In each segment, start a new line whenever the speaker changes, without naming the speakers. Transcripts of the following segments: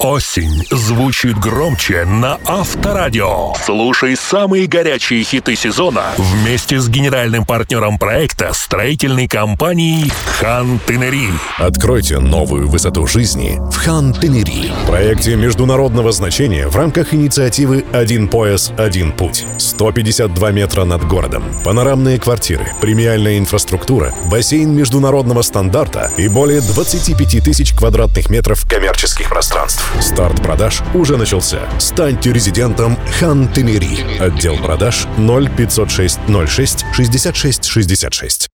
Осень звучит громче на Авторадио. Слушай самые горячие хиты сезона вместе с генеральным партнером проекта строительной компанией Хан-Тенери.
Откройте новую высоту жизни в Хан-Тенери. Проекте международного значения в рамках инициативы «Один пояс, один путь». 152 метра над городом, панорамные квартиры, премиальная инфраструктура, бассейн международного стандарта и более 25 тысяч квадратных метров коммерческих пространств. Старт продаж уже начался. Станьте резидентом Хан-Тенери. Отдел продаж 0506 06 66 66.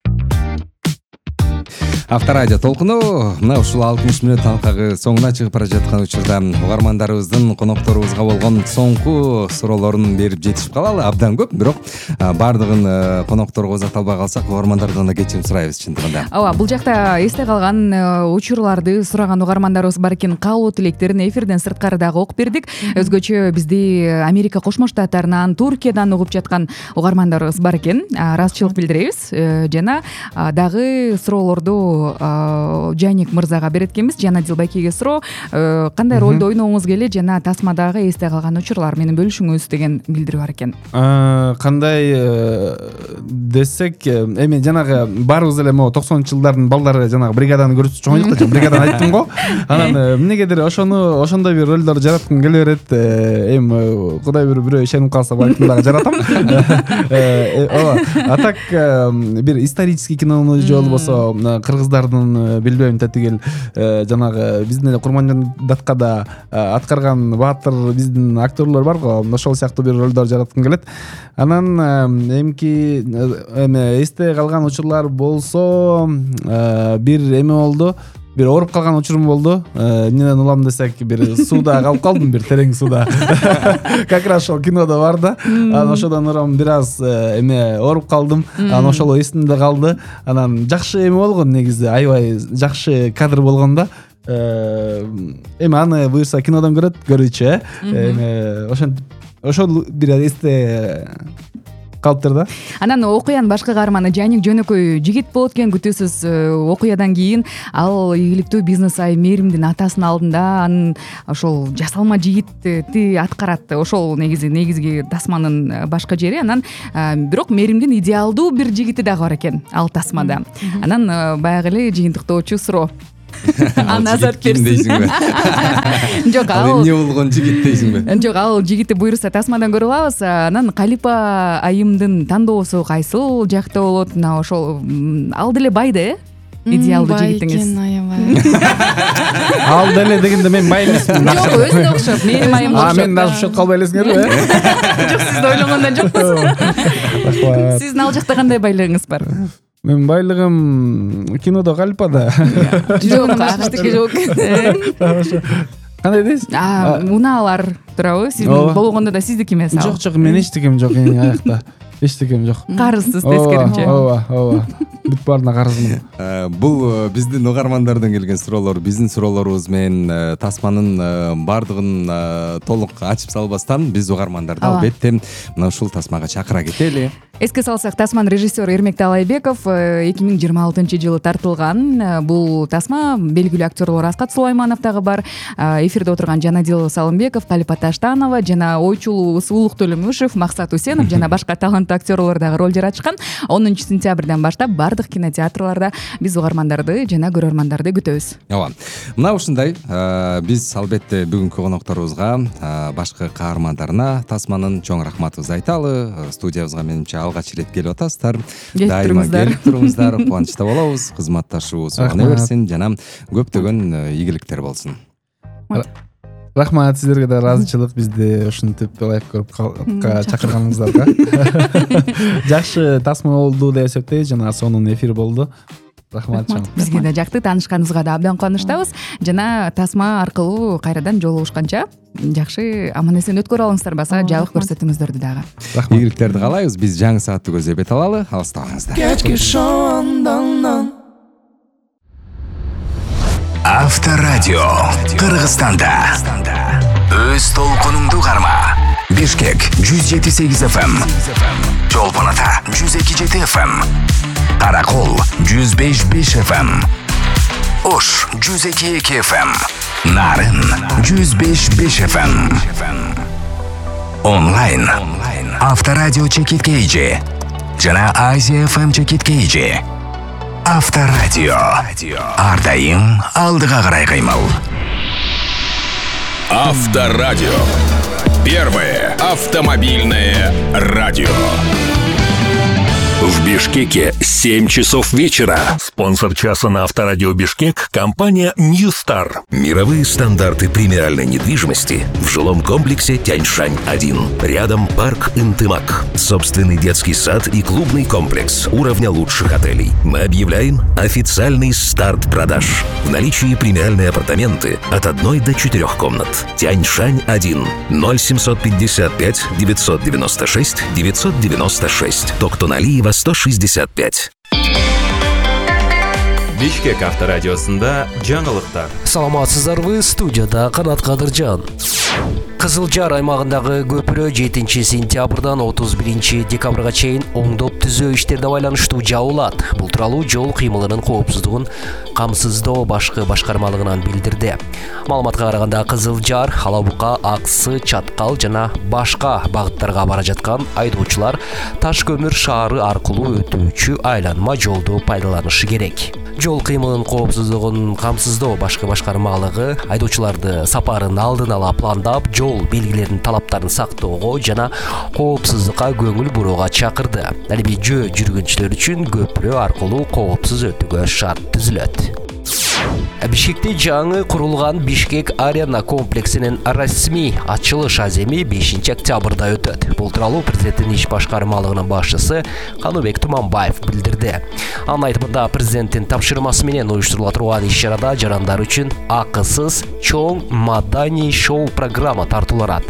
Авторадио толкуну мына ушул 60 мүнөт талкагы соңуна чыгып бара жаткан учурда угармандарыбыздын конокторубузга болгон соңку суроолорун берип жетишип калалы. Абдан көп, бирок баардыгын конокторго узата албай калсак угармандардан да кечирим сурайбыз чындыгында.
Ооба, бул жакта эсте калган учурларды сураган угармандарыбыз бар экен. Каалоо тилектерин эфирден сырткары дагы окуп бердик. Өзгөчө бизди Америка Кошмо Штаттарынан, Туркиядан угуп жаткан угармандарыбыз бар экен. Ыраазычылык билдиребиз. Жана дагы суроолорду Жаник мырзага берет экенбиз. Жанадил Байкеге суроо, кандай ролду ойногуңуз келе жана тасмадагы эсте калган учурлар менен бөлүшүңүз деген билдирүү бар экен.
Кандай десек, эми жанагы баарыбыз эле могу 90-жылдардын балдары жанагы бригаданы көрүп чоң жакта бригаданы айттым го. Анан эмнегедир ошондой бир ролдорду жараткым келе берет. Эми кудай бирөө ишенип калса балким дагы жаратам. Ооба. А так бир исторический кинону же болбосо кыргыздардын билбейм татигел жанагы биздин эле Курмандаткада аткарган баатыр биздин актерлор бар го, ошол сыяктуу бир ролдор жараткым келет. Анан эмки эсте калган учурлар болсо бир эме болду. Бир ооруп калган учурум болду. Эмнеден улам десек, бир сууда калып калдым, бир терең сууда. Как раз ошол кинодо бар да. Анан ошодон урам бир аз ооруп калдым. Анан ошол эсимде калды. Анан жакшы эме болгон негизи, аябай жакшы кадр болгон да. Эми аны буюрса кинодон көрүүчү, ошол бир эсте калыптыр да.
Анан окуянын башка каарманы Жаник жөнөкөй жигит болот экен. Күтүүсүз окуядан кийин ал ийгиликтүү бизнес ай Мээримдин атасынын алдында анын ошол жасалма жигитти аткарат. Ошол негизги тасманын башка жери. Анан бирок Мээримдин идеалдуу бир жигити дагы бар экен ал тасмада. Анан баягы эле жыйынтыктоочу суроо. Назар
дейсиңби?
Жок, ал
эмне болгон жигит дейсиңби?
Жок, ал жигитти буюрса тасмадан көрүп алабыз. Анан Калипа айымдын тандоосу кайсыл жакта болот? Мына ошол ал деле бай да, идеалдуу жигитиңиз.
Ал деле дегенде мен бай эмесмин.
Жок, өзүнө окшоп, Мээрим айымга окшоп.
Мен дагы ушул калбай элесиңерби?
Жок, сиз ойлогондон жокпуз. Сиздин ал жакта кандай байлыгыңыз бар?
Мен байлыгым кинодо Калипада.
Жок, аштыки жок.
Кандай дейсиз?
Унаалар туурабы? Сиздин болгондо да сиздики эмес ал.
Жок, мен эчтекем жок аякта. Эчтекем жок.
Карызсыз тескеринче.
Ооба. Бүт баарына карызмын.
Бул биздин угармандардан келген суроолор, биздин суроолорубуз менен тасманын баардыгын толук ачып салбастан биз угармандарды албетте мына ушул тасмага чакыра кетели.
Эске салсак, тасманын режиссеру Эрмек Талайбеков 2026-жылы тартылган. Бул тасма белгилүү актерлор Аскат Сулайманов дагы бар. Эфирде отурган Жанадил Салымбеков, Калипа Таштанова жана ойчулу Суулук Төлөмүшев, Максат Усенов жана башка таланттуу актерлор дагы роль жаратышкан. 10-сентябрдан баштап бардык кинотеатрларда биз угармандарды жана көрөрмандарды күтөбүз.
Ооба. Мына ушундай биз албетте бүгүнкү конокторубузга башкы каармандарына тасманын чоң рахматыбызды айталы. Студиябызга менимче алгач ирет келип атасыздар. Дайыма келип туруңуздар, кубанычта болобуз. Кызматташуубуз оңой берсин жана көптөгөн ийгиликтер болсун.
Рахмат сиздерге да, ыраазычылык бизди ушинтип лайк көрүп чакырганыңыздарга. Жакшы тасма болду деп эсептейбиз жана сонун эфир болду. Рахмат.
Бизге да жакты, таанышканыбызга да абдан кубанычтабыз. Жана тасма аркылуу кайрадан жолугушканча жакшы аман-эсен өткөрө алыңыздар, баса жабык көрсөтүүңүздөрдү дагы.
Ийгиликтерди каалайбыз. Биз жаңы саатты көзөбөт алалы. Алыстабаңыздар.
Кечки шоудан Авторадио Кыргызстанда өз толкунуңду карма. Бишкек 107.8 FM, Чолпон Ата 102.7 FM, Каракол 105.5 FM, Ош 102 FM, Нарын 105 FM. Онлайн Авторадио чекиткейжи жана Азия FM чекиткейжи. Авторадио ар дайым алдыга карай кыймыл.
Авторадио. Первое автомобильное радио.
В Бишкеке 7 часов вечера. Спонсор часа на Авторадио Бишкек — компания New Star.
Мировые стандарты премиальной недвижимости в жилом комплексе Тяньшань-1. Рядом парк Интымак. Собственный детский сад и клубный комплекс уровня лучших отелей. Мы объявляем официальный старт продаж. В наличии премиальные апартаменты от 1 до 4 комнат. Тяньшань-1. 0755 996 996. Токтоналиева 165.
Бишкек авторадиосунда жаңылыктар.
Саламатсыздарбы, студияда Канат Кадыржан. Кызыл Жар аймагындагы көпүрө 7 сентябрдан 31 декабрга чейин оңдоп түзөө иштерине байланыштуу жабылат. Бул тууралуу жол кыймылынын коопсуздугун камсыздоо башкы башкармалыгынан билдирди. Маалыматка караганда Кызыл Жар, Алабука, Аксы, Чаткал жана башка багыттарга бара жаткан айдоочулар Таш көмүр шаары аркылуу өтүүчү айланма жолду пайдаланышы керек. Жол кыймылынын коопсуздугун камсыздоо башкы башкармалыгы айдоочуларды сапарын алдын ала пландап, жол белгилеринин талаптарын сактоого жана коопсуздукка көңүл бурууга чакырды. Ал эми жөө жүргүнчүлөр үчүн көпүрө аркылуу коопсуз өтүүгө шарт түзүлөт. Бишкекте жаңы курулган Бишкек Арена комплексинин расмий ачылыш аземи 5 октябрда өтөт. Бул тууралуу президенттин иш башкармалыгынын башчысы Каныбек Туманбаев билдирди. Анын айтымында президенттин тапшырмасы менен уюштурула турган иш-чарада жарандар үчүн акысыз чоң маданий шоу программа тартууланат.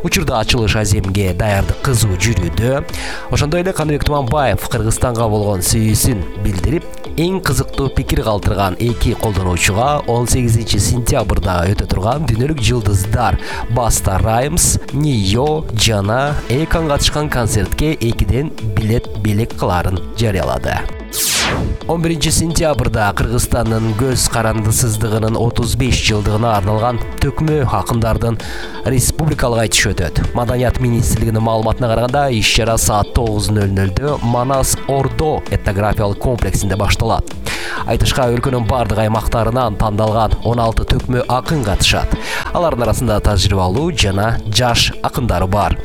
Учурда ачылыш аземге даярдык кызуу жүрүүдө. Ошондой эле Каныбек Туманбаев Кыргызстанга болгон сүйүүсүн билдирип, эң кызыктуу пикир калтырган эки колдонуучуга 18 сентябрда өтө турган дүйнөлүк жылдыздар Баста Раймс, Нио жана Экан катышкан концертке 2ден билет белек кыларын жарыялады. 11 сентябрда Кыргызстандын көз карандысыздыгынын 35 жылдыгына арналган төкмө акындардын республикалык айтыш өтөт. Маданият министрлигинин маалыматына караганда иш-чара саат 9:00 Манас Ордо этнографиялык комплексинде башталат. Айтышка өлкөнүн бардык аймактарынан тандалган 16 төкмө акын катышат. Алардын арасында тажрыйбалуу жана жаш акындар бар.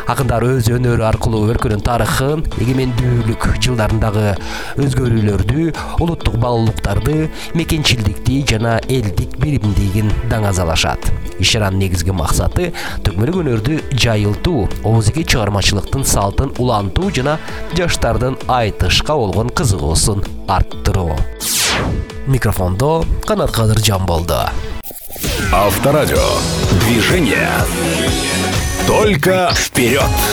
Акындар өз өнөрү аркылуу өлкөнүн тарыхын, эгемендүүлүк жылдарындагы өзгөрүүлөрдү, улуттук баалуулуктарды, мекенчилдикти жана элдик биримдигин даңазалашат. Иш-чаранын негизги максаты төкмөлүк өнөрдү жайылтуу, оозеги чыгармачылыктын салтын улантуу жана жаштардын айтышка болгон кызыгуусун арттыруу. Микрофондо Канат Кадыржан болду.
Авторадио. Движение. Только вперед!